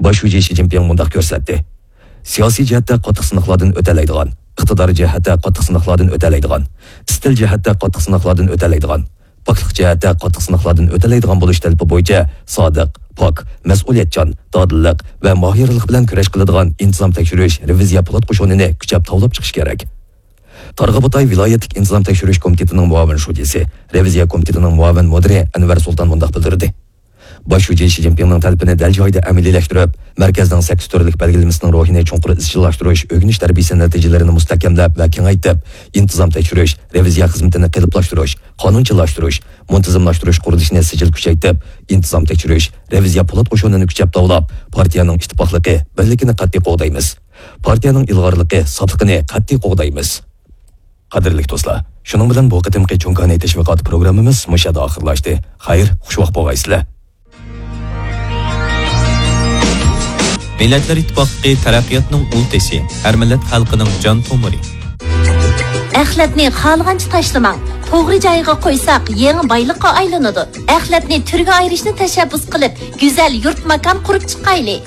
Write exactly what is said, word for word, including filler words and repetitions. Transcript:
باش شۇجى شى جىنپىڭ مۇنداق كۆرسەتتى: سىياسىي جەھەتتە قاتتىق سىناقلاردىن ئۆتەلەيدىغان، ئىقتىدار جەھەتتە قاتتىق سىناقلاردىن ئۆتەلەيدىغان، ئىستىل جەھەتتە قاتتىق سىناقلاردىن ئۆتەلەيدىغان، پاكلىق جەھەتتە قاتتىق سىناقلاردىن ئۆتەلەيدىغان بولۇش تەلىپى بويىچە سادىق، پاك، مەسئۇلىيەتچان، دادىللىق ۋە ماھىرلىق بىلەن كۈرەش قىلىدىغان ئىنتىزام تەكشۈرۈش، رېۋىزىيە پولات قوشۇنىنى كۈچەپ تاۋلاپ چىقىش كېرەك. تارغا بۇتاي ۋىلايەتلىك ئىنتىزام تەكشۈرۈش كومىتېتىنىڭ مۇئاۋىن شۇجىسى، رېۋىزىيە كومىتېتىنىڭ مۇئاۋىن مۇدىرى ئەنۋەر سۇلتان مۇنداق بىلدۈردى: باش شۇجى شى جىنپىڭنىڭ تەلىپىنى دەل جايىدا ئەمەلىيلەشتۈرۈپ، مەركەزنىڭ سەككىز تۈرلۈك بەلگىلىمىسىنىڭ روھىنى چوڭقۇر ئىزچىللاشتۇرۇش، ئۆگىنىش تەربىيەسى نەتىجىلىرىنى مۇستەھكەملەپ ۋە كېڭەيتىپ، ئىنتىزام تەكشۈرۈش، رېۋىزىيە خىزمىتىنى قېلىپلاشتۇرۇش، قانۇنچىللاشتۇرۇش، مۇنتىزىملاشتۇرۇش قۇرۇلۇشىنى سىجىل كۈچەيتىپ، ئىنتىزام تەكشۈرۈش، رېۋىزىيە پولات قوشۇنىنى كۈچەپ تاۋلاپ، پارتىيەنىڭ ئىتتىپاقلىقى، بىرلىكىنى قەتئىي قوغدايمىز. پارتىيەنىڭ ئىلغارلىقى، ساپلىقىنى قەتئىي قوغدايمىز. قەدىرلىك دوستلار، شۇنىڭ بىلەن بۇ قېتىمقى چوڭ كانى تەشۋىقات پروگراممىمىز مۇشۇ يەردە ئاخىرلاشتى. خەير، خۇشۋاق بولغايسىلەر. مىللەتلەر ئىتتىپاقلىقى تەرەققىياتنىڭ ئۇل تېشى، ھەر مىللەت خەلقىنىڭ جان تومۇرى. ئەخلەتنى خالىغانچە تاشلىماڭ. توغرا جايىغا قويساق، يېڭى بايلىققا ئايلىنىدۇ. ئەخلەتنى تۈرگە ئايرىشنى تەشەببۇس قىلىپ، گۈزەل يۇرت ماكان قۇرۇپ چىقايلى.